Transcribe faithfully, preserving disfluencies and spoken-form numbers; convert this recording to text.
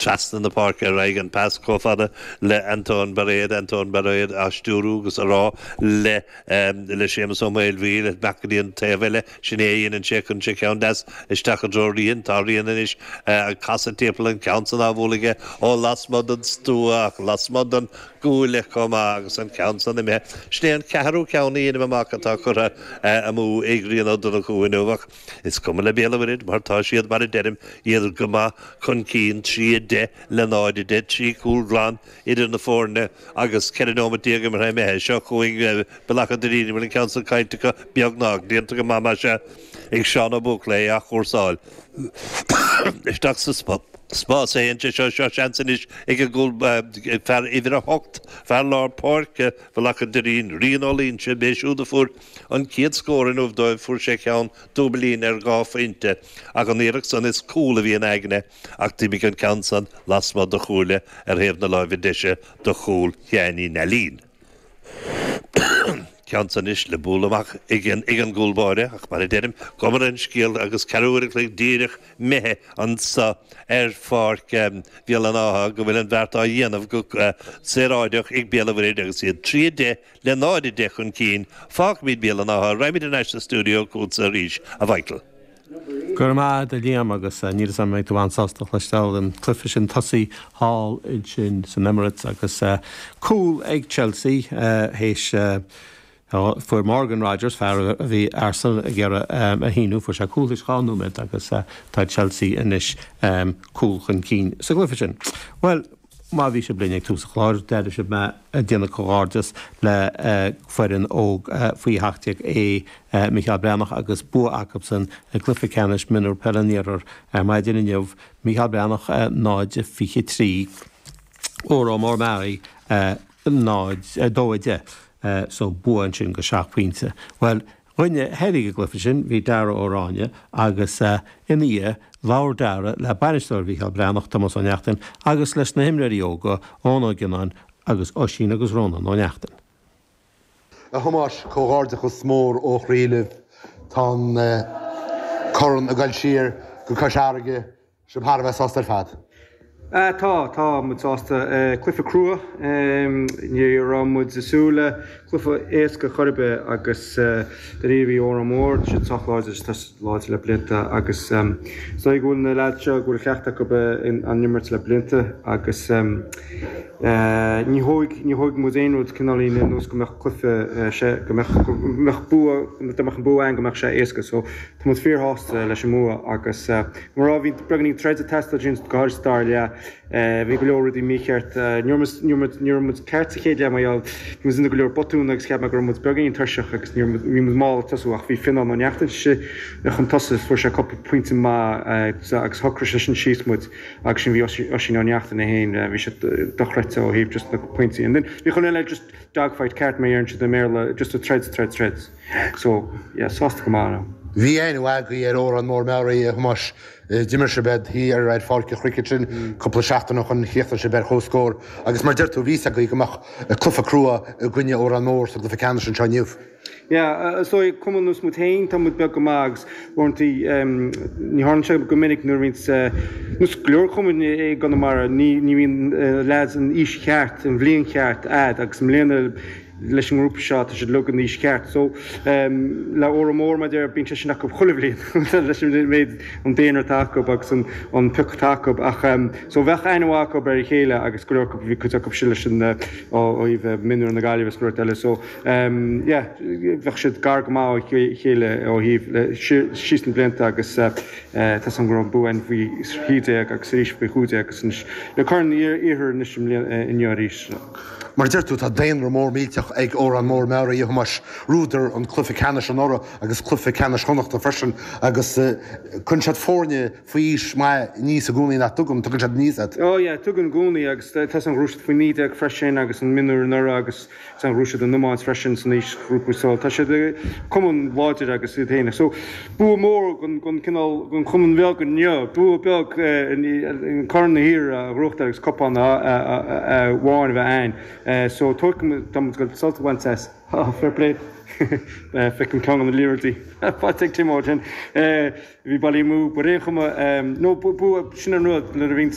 Trasna na páirce ar aghaidh an pas chomh fada le Anton Bairéad Anton Bairéad á stiúradh agus a rá le le Séamus Ó Maolmhaoil amach go dtí an taobh eile sin é a dhéanann sé chun sé ceann deas isteach i dtreo Rian tá Rian anois ag casadh timpeall an ceann san á bhualadh aige ó lasmuigh den stua ach lasmuigh den gcuaille chomh maith agus an ceann san imithe. Sin é an ceathrú ceann a dhéanaim amach atá curtha amú ag Rian Ó Donnchú inniu ach is cuma le Béal an Mhuirthead mar tá siad mar a deirim iad go maith chun cinn trí a deich le náid a deich trí chúl glan idir na foirne agus ceithre nóiméad déag imeartha imithe. Seo chugainn Bealach an Doirín bhfuil an ceann san caillte acu beagnach déanta go maith más ea ag Seán Ó Buachalla é a athchúrsáil isteach sa spás é anseo seo seo seans anois ag an gcúl fear uimhir a hocht fear lár páirce Bhealach an Doirín Rian Ó Loinsigh b'é siúd a fuair an chéad scór inniu dóibh fuair sé ceann dúbailín ar dhá phointe ach an iarracht san is cúl a bhí in aigne ach d'imigh an ceann san lasmuigh de chuaille ar thaobh na láimhe deise do chúl Sheáin Uí Neilín. Ceann san anois le bualadh amach ag an ag an gcúl báire ach mar a deirim cuma ar an scéal agus ceathrú uair an chloig díreach imithe anso ar pháirc Bhéal an Átha go bhfuil an bheart á dhéanamh go saoráideach ag Béal an Mhuirthead agus iad trí a deich le náid a deich chun cinn. Fágfaimid Béal an Átha, raghaimid ar ais sa stiúideo chugatsa arís, a Mhichael. Go raibh maith agat a Liam agus níl a fhios agam an mbeidh tú an-sásta cloisteáil an cluiche sin tosaithe thall ansin san Emirates agus cúl ag Chelsea théis fuair Morgan Rogers fear a bhí Arsenal ag iarraidh a shíniú fuair sé cúl théis dhá nóiméad agus tá Chelsea anois cúl chun cinn sa gcluiche sin. Bhuel má bhí sibh linn ag tús an chláir d'airigh sibh mé ag déanamh comhghairdeas le foireann óg faoi sheacht déag A Micheál Breathnach agus bua acusan i gcluiche ceannais mionúr peile an Iarthair ar maidin inniu, Micheál Breathnach náid fiche trí, Órán Mór Meáraí náid dó a deich. So bua ansin go seacht bpointe. Bhuel, dhuine a thairg an gcluiche sin bhí Dara Ó Ráinne agus ina dhiaidh labhair Dara le bainisteoir Mhicheál Breathnach, Tomás Ó Neachtain, agus leis na himreoirí óga, Eoin Ó Gionnáin agus Oisín agus Rónán Ó Neachtain. A Thomáis, comhghairdeachas mór ó chroí libh. Tá an corn ag dul siar go Cois Fharraige. Sibh thar a bheith sásta ar fad. Tá, tá muid sásta. Cluiche crua. Ní raibh muid ag súil le cluiche éasca chor ar bith agus dáiríre bhí Órán Mór, tá siad sách láidir, tá siad láidir le blianta agus is dóigh go bhfuil na leaids seo go bhfuil cleachtadh acu an imirt le blianta agus ní thóig, ní thóig muid aon rud cineáilín ar nós go mbeadh cluiche sé, go mbeadh, go mbeadh bua, dá mbeadh an bua againn go mbeadh sé éasca. So tá muid fíorshásta leis an mbua agus mar a bhí beagáinín troid ag teastáil uainn go háirid sa dara leath. Bhí go leor rudaí mícheart. Ní raibh muid, ní raibh muid, ní raibh muid ceart sa chéad leath mar gheall bhí muid ag déanamh go leor botún agus cheap mé go raibh muid beagáinín tuirseach agus ní raibh muid, bhí muid mall ag tosú ach bhí Fionnán Ó Neachtain chun tosaigh, fuair sé cúpla pointe maith agus shocraigh sé sin síos muid agus sin bhí Oisín Ó Neachtain é féin, bhí sé dochreidte ó thaobh just na pointí. And then bhí chuile eile just dogfight ceart mar a deireann siad i mBéarla, just a troid, troid, troid. So, yeah, sásta go maith now. Bhí aithne mhaith agaibh ar Órán Mór Meáraí, a Thomáis. D'imir sibh iad thiar ar Pháirc an Chricket sin cúpla seachtain ó shin, chríochnaigh sibh ar comhscór agus mar deir tú, bhí fhios agaibh go mbeadh cluiche crua i gcoinne Órán Mór sa gcluiche ceannais anseo inniu. Yeah, is dóigh, cumann nós muid féin, tá muid beag go maith agus uaireanta ní tharlaíonn sé go minic nuair a bhíonns, nós go leor cumainn i gConamara, ní ní bhíonn leaids an aois cheart, an bhliain cheart a'd agus i mbliana leis an ngrúpa seo, tá siad uilig an aois cheart. So, le Órán Mór, mar a deir, bíonn sé sin acu chuile bhliain leis an méid, an daonra atá acu agus an an pioc atá acu. Ach, so bheadh aithne mhaith acu ar a chéile agus go leor acu, bhí cuid acu sin leis an, ó thaobh mionúir na Gaillimhe agus go leor eile. So, yeah, bheadh siad gar go maith ó chéile ó thaobh le síos na blianta agus tá 's agam go raibh bua againn faoi thrí déag agus arís faoi chúig déag agus anois le Corn Iarthair anois i mbliana, inniu arís. Mar a deir tú, tá daonra mór millteach ag Órán Mór Meáraí, a Thomáis. Ghnóthaíodar an cluiche ceannais anuraidh agus cluiche ceannais Chonnachta freisin agus cuireann siad foirne faoi aois maith aníos i gcónaí nach dtugann, tugann siad aníos iad. Oh yeah, tugann i gcónaí agus tá 's agam ghnóthaigh siad faoi naoi déag freisin agus an mionúr anuraidh agus tá 's agam ghnóthaigh siad an iomáint freisin san aoisghrúpa so tá siad cumann láidir agus iad féin. So bua mór don don cineál don chumann bheag inniu, bua beag Corn na hIarthair a ghnóthachtáil agus cupán amháin a bheith ann. So tógfaidh muid, tá muid ag sult a bhaint as. Fair play. Feicim ceann na liathróidí. Faighte ag Tim sin. Bhí bailí amú, but aon chuma no sin an rud nuair a bhíonn